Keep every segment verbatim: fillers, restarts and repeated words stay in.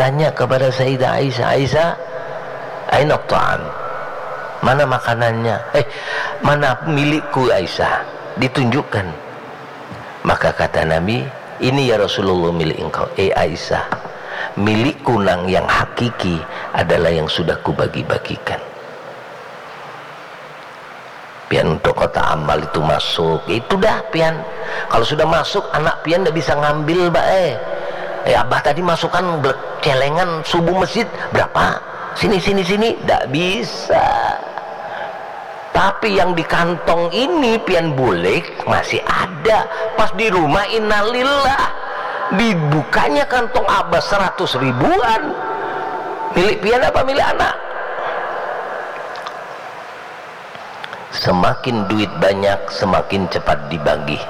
Tanya kepada Sayyidah Aisyah, "Aisyah, aina ta'am? Mana makanannya? Eh, mana milikku, Aisyah?" Ditunjukkan. Maka kata Nabi, "Ini ya Rasulullah milik engkau." "Eh Aisyah, milikku nang yang hakiki adalah yang sudah kubagi-bagikan." Pian untuk kota amal itu masuk, itu dah pian. Kalau sudah masuk, anak pian ndak bisa ngambil, Mbak, eh. Eh, abah tadi masukkan celengan subuh masjid, berapa? Sini, sini, sini. Ndak bisa. Tapi yang di kantong ini, pian bulik, masih ada. Pas di rumah, innalillah. Dibukanya kantong abah seratus ribuan. Milik pian apa milik anak? Semakin duit banyak, semakin cepat dibagi.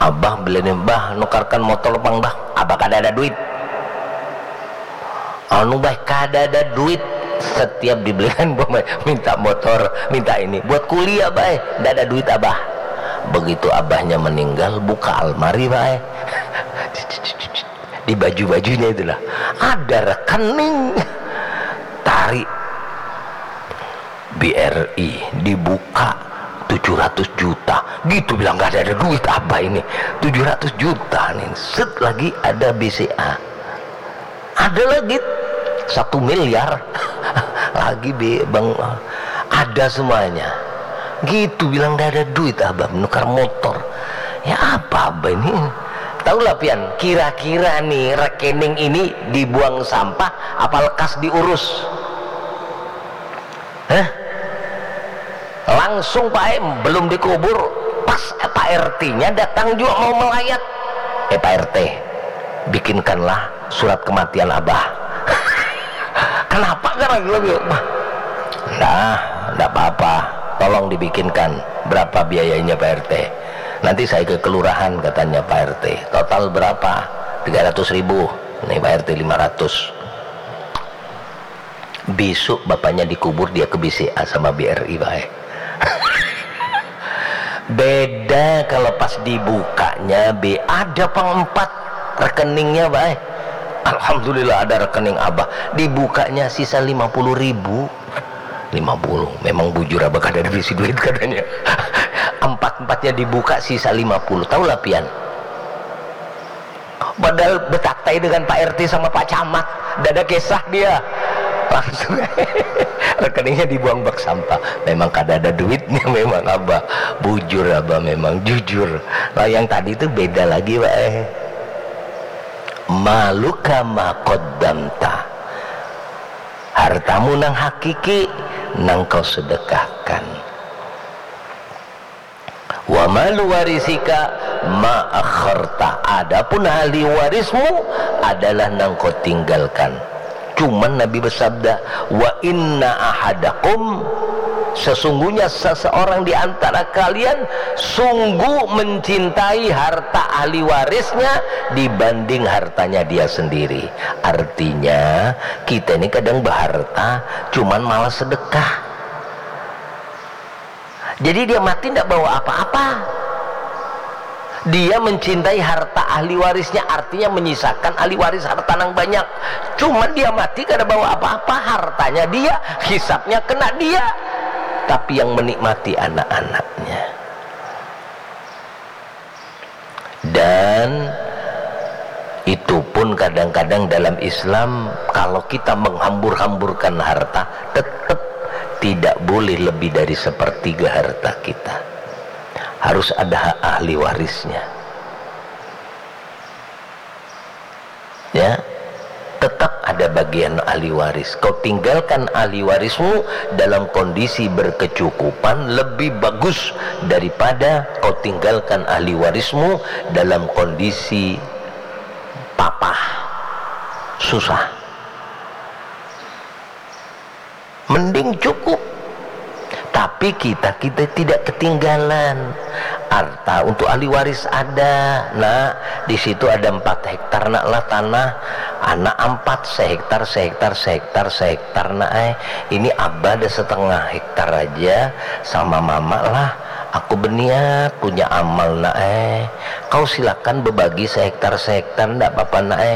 Abah beli nih, "Bah, nukarkan motor pang, Bah." "Abah kada ada duit." "Anu, Bah, kada ada duit." Setiap dibelikan, minta motor, minta ini. "Buat kuliah, Bah, eh." "Ndak ada duit, Abah." Begitu abahnya meninggal, buka almari, Bah, eh. Di baju-bajunya itulah ada rekening, tarik B R I, dibuka tujuh ratus juta gitu, bilang, "Gak ada, ada duit apa ini, tujuh ratus juta nih." Set, lagi ada B C A, ada lagi satu miliar lagi, Bang, ada semuanya gitu, bilang, "Gak ada duit, Abah, menukar motor." Ya apa, Abah, ini? Tahulah pian, kira-kira nih rekening ini dibuang sampah apa lekas diurus? Hah? Langsung, Pak M, belum dikubur, pas Pak R T-nya datang juga mau melayat. "Eh, Pak R T, bikinkanlah surat kematian Abah." "Kenapa?" Karena gitu. "Nah, ndak apa-apa, tolong dibikinkan." "Berapa biayanya, Pak R T?" "Nanti saya ke kelurahan," katanya Pak R T. "Total berapa?" "Tiga ratus ribu." "Nih, Pak R T, lima ratus." Besok bapaknya dikubur, dia ke B C A sama B R I baik. Beda kalau pas dibukanya, be, ada pang empat rekeningnya, baik. Alhamdulillah, ada rekening Abah. Dibukanya sisa lima puluh ribu. Lima puluh. Memang bujur, Abah kada ada bisi duit, katanya. Empat-empatnya dibuka, sisa lima puluh. Tahulah pian. Padahal betaktai dengan Pak R T sama Pak Camat, dada kisah dia. Langsung rekeningnya dibuang bak sampah. Memang kada ada duitnya, memang, Abah. Bujur, Abah, memang jujur. Lah, yang tadi itu beda lagi, Pak, eh. "Maluka ma qaddamta." Hartamu nang hakiki, nang kau sedekahkan. "Wa malu warisika ma akharta." Adapun ahli warismu adalah nang kau tinggalkan. Cuman Nabi bersabda, "Wa inna ahadakum," sesungguhnya seseorang di antara kalian sungguh mencintai harta ahli warisnya dibanding hartanya dia sendiri. Artinya, kita ini kadang berharta, cuman malas sedekah. Jadi dia mati ndak bawa apa-apa. Dia mencintai harta ahli warisnya, artinya menyisakan ahli waris harta nang banyak. Cuman dia mati kada bawa apa-apa, hartanya dia, hisabnya kena dia. Tapi yang menikmati anak-anaknya. Dan itu pun kadang-kadang dalam Islam, kalau kita menghambur-hamburkan harta, tetap tidak boleh lebih dari sepertiga harta kita. Harus ada hak ahli warisnya. Ya, tetap ada bagian ahli waris. Kau tinggalkan ahli warismu dalam kondisi berkecukupan lebih bagus daripada kau tinggalkan ahli warismu dalam kondisi papah, susah. Mending cukup. Tapi kita, kita tidak ketinggalan. Harta untuk ahli waris ada. Nak, di situ ada empat hektar, Nak, lah, tanah. Anak empat, sehektar, sehektar, sehektar, sehektar, Nak, eh. Ini Abah ada setengah hektar aja, sama Mama lah. Aku berniat punya amal, Nak, eh. Kau silakan berbagi sehektar, sehektar, ndak apa-apa, Nak, eh.